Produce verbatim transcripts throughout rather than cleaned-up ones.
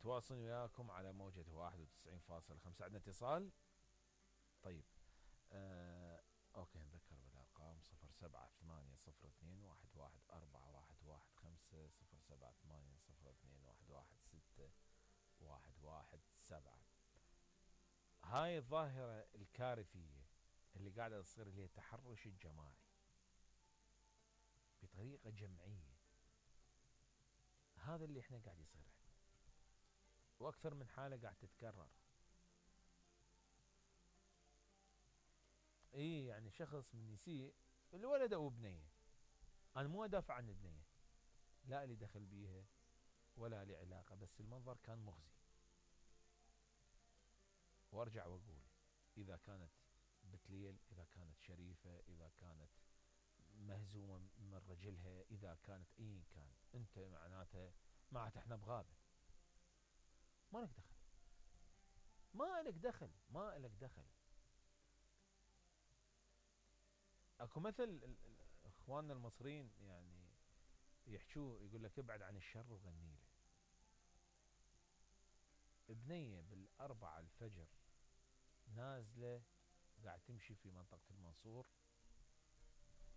متواصلين وياكم على موجة واحد وتسعين فاصلة خمسة. عندنا اتصال. طيب آه اوكي نذكر بالارقام صفر سبعة ثمانية صفر اثنين واحد واحد أربعة واحد واحد خمسة صفر سبعة ثمانية صفر اثنين واحد واحد ستة واحد واحد سبعة. هاي الظاهرة الكارثية اللي قاعدة تصير اللي هي التحرش الجماعي بطريقة جمعية، هذا اللي احنا قاعد يصير عندنا، واكثر من حالة قاعد تتكرر. اي يعني شخص من يسيء الولد او بنية، انا مو ادافع عن البنية، لا لي دخل بيها ولا لي علاقة، بس المنظر كان مخزي. وارجع واقول اذا كانت بتليل، اذا كانت شريفة، اذا كانت مهزومة من رجلها، اذا كانت اي كان، انت معناته معناته احنا بغابة، ما لك دخل، ما لك دخل، ما لك دخل. اكو مثل اخواننا المصريين يعني يحشوه، يقول لك ابعد عن الشر وغني له. بنية بالأربعة الفجر نازلة قاعد تمشي في منطقة المنصور،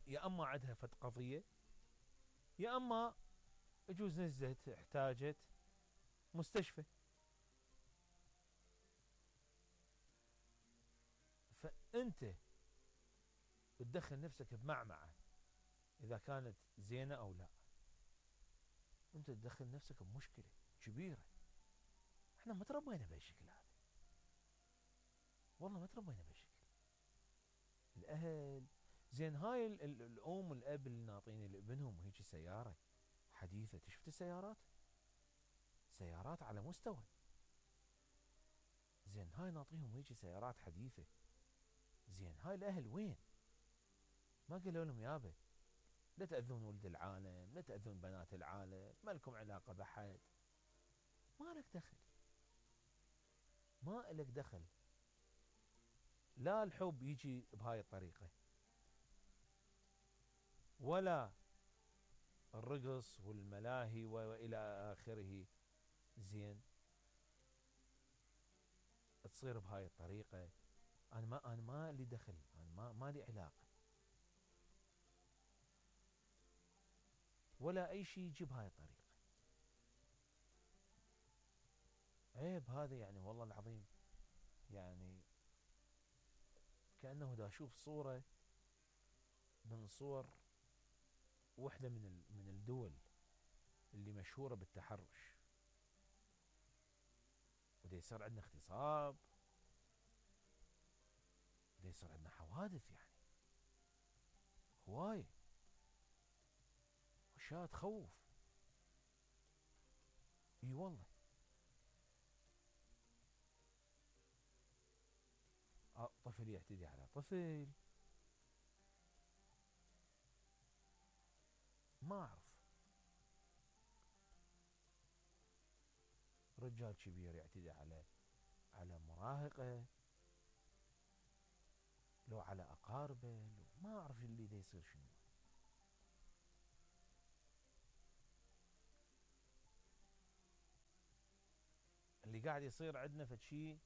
يا أما عندها فت قضية، يا أما يجوز نزلت احتاجت مستشفى. فأنت تدخل نفسك بمعمعة إذا كانت زينة أو لا، أنت تدخل نفسك بمشكلة كبيرة. احنا ما تربينا بهالشكل هذا، والله ما تربينا بهالشكل. الأهل زين، هاي ال ال الأم والأب اللي ناطين لابنهم وهيك سيارة حديثة، شفت السيارات؟ سيارات على مستوى. زين هاي ناطيهم هيك سيارات حديثة، زين هاي الأهل وين؟ ما قالوا لهم يابا لا تأذون ولد العالم، لا تأذون بنات العالم، ما لكم علاقة بحد، ما لك دخل، ما لك دخل. لا الحب يجي بهاي الطريقة، ولا الرقص والملاهي وإلى آخره، زين تصير بهاي الطريقة. أنا ما أنا ما لي دخل، أنا ما ما لي علاقة ولا أي شيء يجي بهاي الطريقة. عيب هذا يعني، والله العظيم يعني كأنه دا أشوف صورة من صور وحدة من من الدول اللي مشهورة بالتحرش، ودا يصير عندنا اغتصاب، ودا يصير عندنا حوادث، يعني هواية واشياء تخوف. اي والله. اه طفل يعتدي على طفل، ما اعرف، رجال كبير يعتدي على على مراهقه، لو على اقاربه، لو ما اعرف اللي دا يصير شنو. اللي قاعد يصير عندنا فشي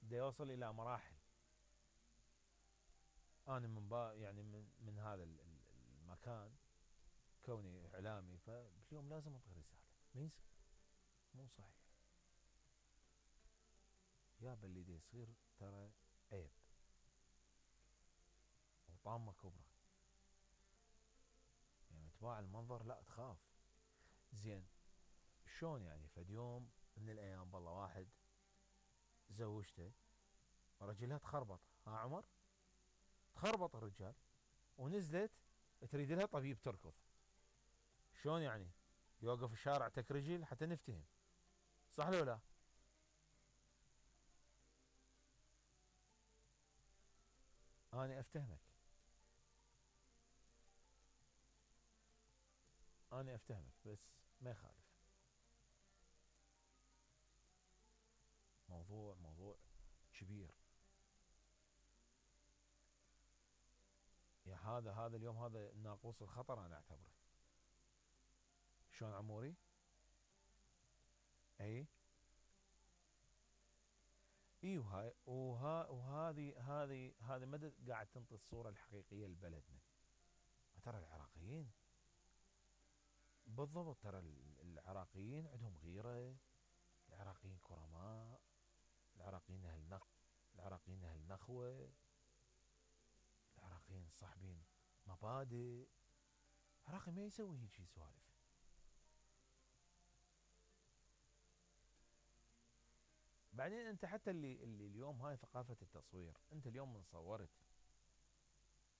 دا يوصل الى مراحل. انا من با يعني من, من هذا المكان كوني اعلامي، فباليوم لازم انطي رساله، ما يصير، مو صحيح يابا اللي دا يصير ترى عيب وطامه كبرى. يعني تباع المنظر لا تخاف. زين شلون يعني؟ فد يوم من الايام بالله واحد زوجته رجلها تخربط، ها عمر؟ تخربط الرجال ونزلت تريد لها طبيب تركض. شلون يعني؟ يوقف الشارع تك رجل حتى نفتهم، صح لو لا؟ انا افتهمك، انا افتهمك بس ما يخالف. موضوع موضوع كبير. يا هذا هذا اليوم هذا ناقوس الخطر انا اعتبره. شلون عموري؟ اي اي وهاي وها وهذه هذه هذه مدى قاعد تنطي الصوره الحقيقيه لبلدنا. ترى العراقيين بالضبط، ترى العراقيين عندهم غيره، العراقيين كرماء، العراقيين اهل نخ العراقيين اهل نخوه، العراقيين صاحبين مبادئ. العراقي ما يسوي هيجي سوالف. بعدين انت حتى اللي اللي اليوم هاي ثقافه التصوير، انت اليوم من صورت،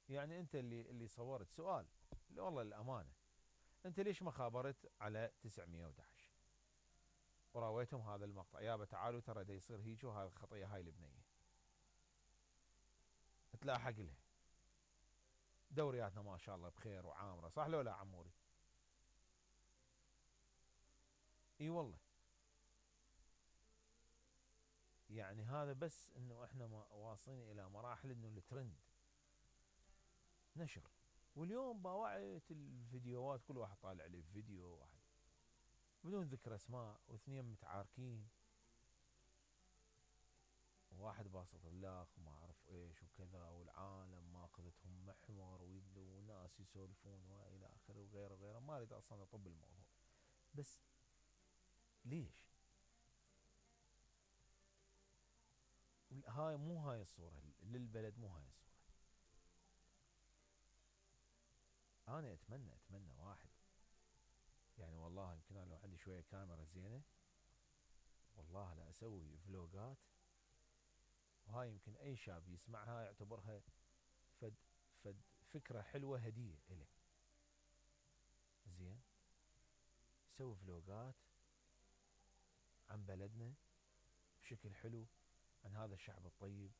يعني انت اللي اللي صورت سؤال والله للامانه، انت ليش ما خابرت على تسعمية وأحد عشر وراويتهم هذا المقطع؟ يابا تعالوا ترى دا يصير هيك، وهذا الخطيه هاي البنيه تلاحق لها. دورياتنا ما شاء الله بخير وعامره، صح لو لا عموري؟ اي والله. يعني هذا بس انه احنا واصلين الى مراحل انه الترند نشر. واليوم باوعية الفيديوهات كل واحد طالع لي فيديو، واحد بدون ذكر اسماء، واثنين متعاركين، وواحد باسط اللاخ وما اعرف ايش وكذا، والعالم ماخذتهم محور، وناس يسولفون والى اخره وغيره وغيره. ما اريد اصلا اطب الموضوع، بس ليش؟ هاي مو هاي الصورة للبلد، مو هاي الصورة. انا اتمنى اتمنى واحد، يعني والله يمكن انا لو عندي شوية كاميرا زينة والله لا اسوي فلوقات، وهاي يمكن اي شاب يسمعها يعتبرها فد فد فكرة حلوة، هدية إله. زين، سوي فلوقات عن بلدنا بشكل حلو، عن هذا الشعب الطيب،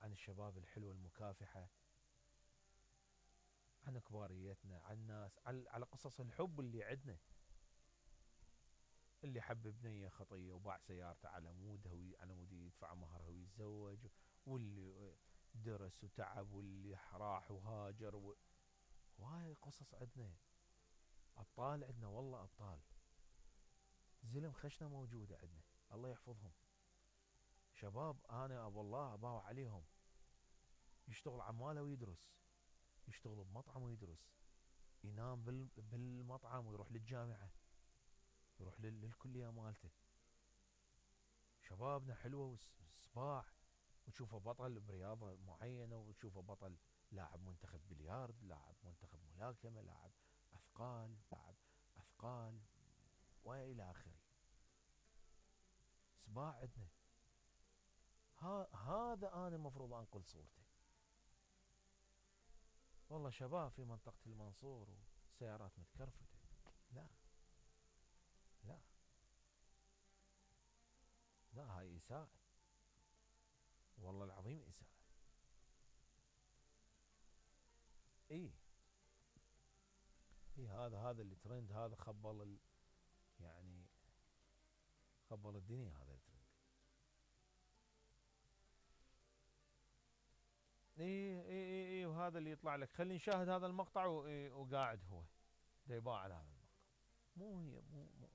عن الشباب الحلوة المكافحة، عن كباريتنا، عن ناس، على قصص الحب اللي عندنا. اللي حب بنية خطية وباع سيارته على مودها على مود يدفع مهرها ويتزوج، واللي درس وتعب، واللي راح وهاجر و... وهاي قصص عندنا. ابطال عندنا والله ابطال. زلم خشنة موجودة عندنا، الله يحفظهم. شباب انا والله اباوع عليهم، يشتغل عماله ويدرس، يشتغل بمطعم ويدرس، ينام بالمطعم ويروح للجامعة، يروح للكلية مالته. شبابنا حلوة وصباح، وتشوفه بطل برياضة معينة، وتشوفه بطل لاعب منتخب بلياردو، لاعب منتخب ملاكمة، لاعب اثقال، لاعب اثقال والى اخره. صباح عندنا. ها هذا انا المفروض انقل صورته. والله شباب في منطقة المنصور وسيارات متكرفتة، لا لا لا، هاي إساءة، والله العظيم إساءة. اي اي هذا هذا اللي ترند، هذا خبل ال... يعني خبل الدنيا هذا الترند. اي اي اي اي وهذا اللي يطلع لك، خلي نشاهد هذا المقطع، وقاعد هو دا يباع على هذا المقطع. مو هي مو, مو